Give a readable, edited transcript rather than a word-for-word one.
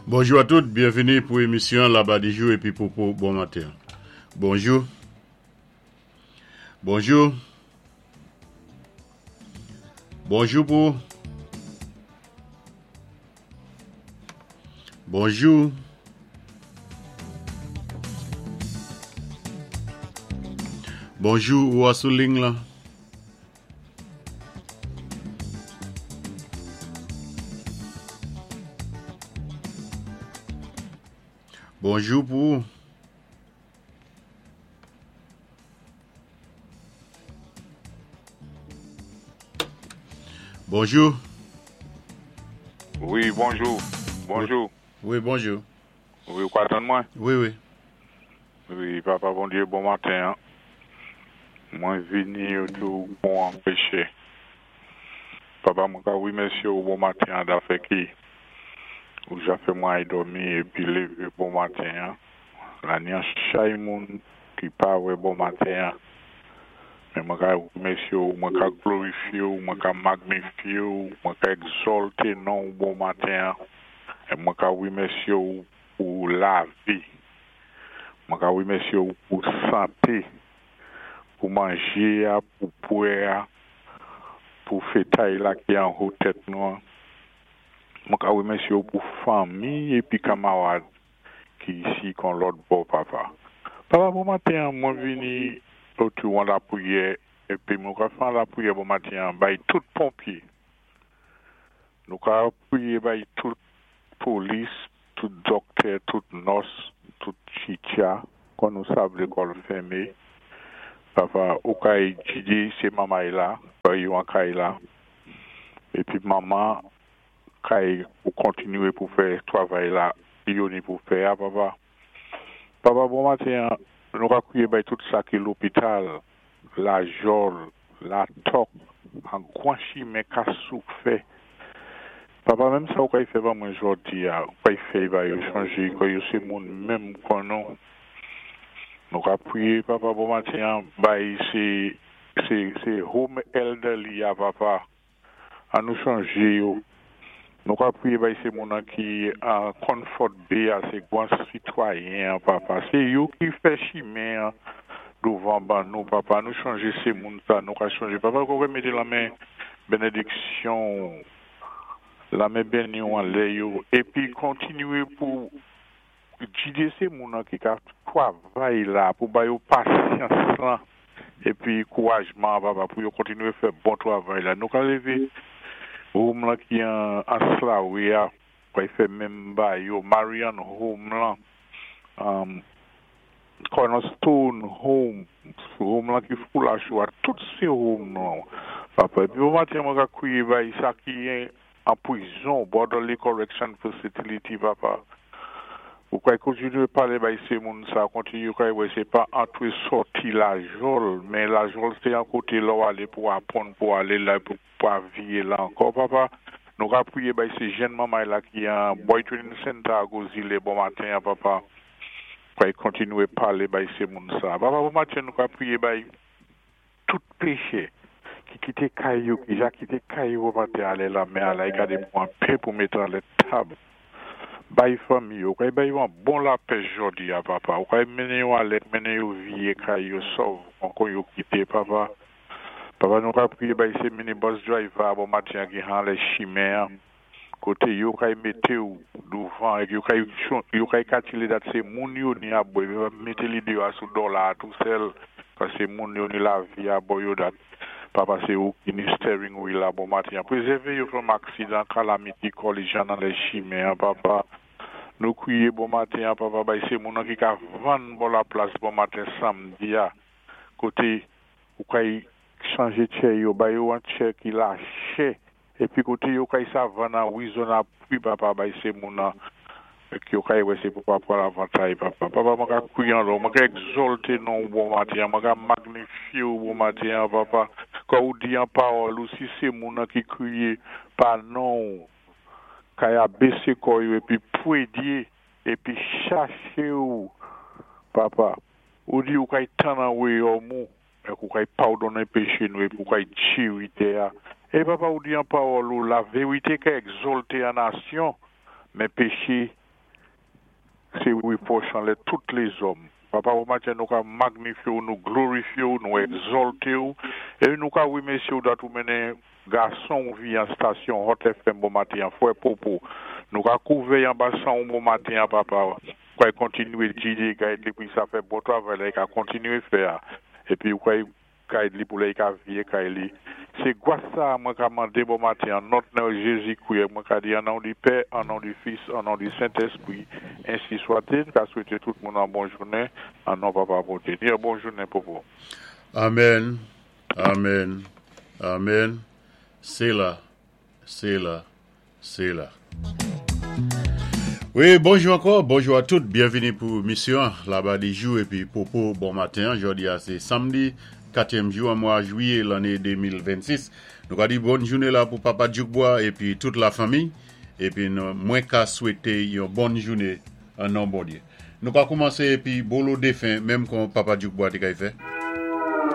Bonjou a tout, byenvini pou emisyon Labadijou épi Popo bon maten. Bonjou. Bonjou. Bonjou pou. Bonjou. Bonjou, ou a sou ling lan. Bonjou pou ou. Bonjou. Wi, bonjou. Bonjou. Wi, bonjou. Wi, ou ka tann mwen? Wi, wi. Wi, papa Bondye, bon maten. Mwen vini tou pou anpeche. Papa, mwen ka remèsye ou bon maten an dafè ki ou ja fè mwen ay dòmi épi lévé bon maten an. La ni an chay moun ki pa wè bon maten an. Men mwen ka remèsye ou, mwen ka glorifye ou, mwen ka magnifye ou, mwen ka egzòlté non ou bon maten an. É mwen ka remèsye ou pou lavi. Mwen ka remèsye ou pou santé, pou manjé a, pou bwè a, pou fétay la ki anwo tèt nou an. Mwen ka remèsye ou pou fanmi épi kanmarad ki isi kon lòt bò papa. Papa bon maten an mwen vini otou an lapriyè épi mwen ka fè an lapriyè bon maten an bay tout ponpye. Nou ka priyé bay tout polis, tout dòktè, tout nòs, tout titcha, kon nou sav lékòl fèmé. Papa, ou kay gidé sé manmay la, yo an kay la. Épi manman kay pou kontinué pou fè twavay la yo ni pou fè a papa. Papa bon maten an, nou ka priyé bay tout sa ki lopital, Lajòl, Latòk, an gwan chimen ka soufè. Papa menm sa ou kay fè ban mwen jòdi a, ou kay fè ba yo chanje kò yo sé moun menm kon nou. Nou ka priyé papa bon maten an bay sé sé sé home elderly a papa. An nou chonjé yo. Nou ka priyé bay sé moun an ki an Comfort Bay a sé gwan sitwayen an papa. Sé yo ki fè chimen an douvan ban nou papa. An nou chonjé sé moun sa nou ka chonjé papa ou ka mété lanmen benediksyon ou lanmen beni ou anlè yo épi kontinué pou Gide se moun an ki ka twavay la pou ba yo pasyans lan épi kourajman an papa pou yo kontinwé fè bon twavay la. Nou ka lévé home lan ki an Slawe a pray fè menm ba yo, Marian Home lan, Cornerstone Home, home lan ki Foulachou a, tout sé home lan papa. Épi bon maten mwen ka kwiyé bay sa ki an pwizon, Borderley Correction Facility papa. Ou kay kontinwé palé bay sé moun sa, kontinwé kay wè sé pa antré sòti Lajòl, men Lajòl sé an koté lè ou alé pou apwann pou alé la pou pa viyé la ankò papa. Nou ka priyé bay sé jenn manmay la ki an Boy Training Center a Gozile bon maten an papa. Kay kontinwé palé bay sé moun sa. Papa bon maten nou ka priyé bay tout péchè ki kité kay yo, ki ja kité kay yo bon maten alé lanmè alay gadé pou an pen pou mété anlè tab. Bay fanmi yo, kay bay yo an bon lapèch jòdi a papa. Ou kay mennen yo alè, mennen yo viyé kay yo sòv kon yo kité papa. Papa nou ka priyé bay sé minibus driver a bon maten an ki anlè chimen an koté yo kay mété ou douvan épi yo kay yo kay kalkilé dat sé moun yo ni ap bwè yo mété li deyò a sou dòla a tou sèl paské moun yo ni lavi a bò yo dat papa sé ou ki ni steering wheel la bon maten an prezèvé yo from aksidan calamity collision anlè chimen an papa nou kwiyé bon maten an papa bay sé moun an ki ka vann bò laplas bon maten samdi a koté ou kay chanje tchè yo, bay yo an tchè ki lachè, épi koté yo kay sa vann an Arizona pri papa bay sé moun an ki yo kay wè sé pou pa pran avantay papa. Papa mwen ka kwiye anlè ou, mwen ka egzòlté non ou bon maten an, mwen ka magnifye ou bon maten an papa, kò ou di an pawòl ou si sé moun an ki kriye pa non ou, kay abésé kò yo épi pwédyé épi chaché ou papa. Ou di ou kay tann an wayòm ou, èk ou kay padonnen péché nou épi ou kay tchiri tè a. É papa ou di an pawòl ou, laverité ka egzòlté an nasyon, men péché. Sé wépwòch anlè tout lézòm. Papa, bon maten, nou ka magnifyé-w, nou glorifyé-w, nou egzalté-w, é nou ka wémèsyé-w dat ou mennen gason-w vi an stasyon Hot FM bon maten an, Fwè Popo. Nou ka kouvè-y anba san-w bon maten an, Papa. Ou kay kontinyé gidé, gide li pou sa fè bon travay la, i ka kontinyé fè a. Épi ou kay gide li pou lè i ka vyé kay li. Sé gwas sa mwen ka mandé bon maten an non nan Jézi Kwi, mwen ka di an non di Pè, an non di Fis, an non di Sentèspwi, ensi swat-il. Ka swété tout moun an bon jounen, an non Papa Bondye. Di an bon jounen, Popo. Amen, amen, amen. Séla, séla, séla. Wi, bonjou ankò, bonjou a tout, byenvini pou misyon Labadijou épi Popo bon maten. Jòdi a sé samdi, katyèm jou an mwa jwiyé lanné 2026. Nou ka di bòn jounen la pou Papa Djoukbois épi tout la fanmi. Épi nou, mwen ka swété yon bòn jounen an non Bondyé. Nou ka koumansé épi bolo défen menm kon Papa Djoukbois té kay fè.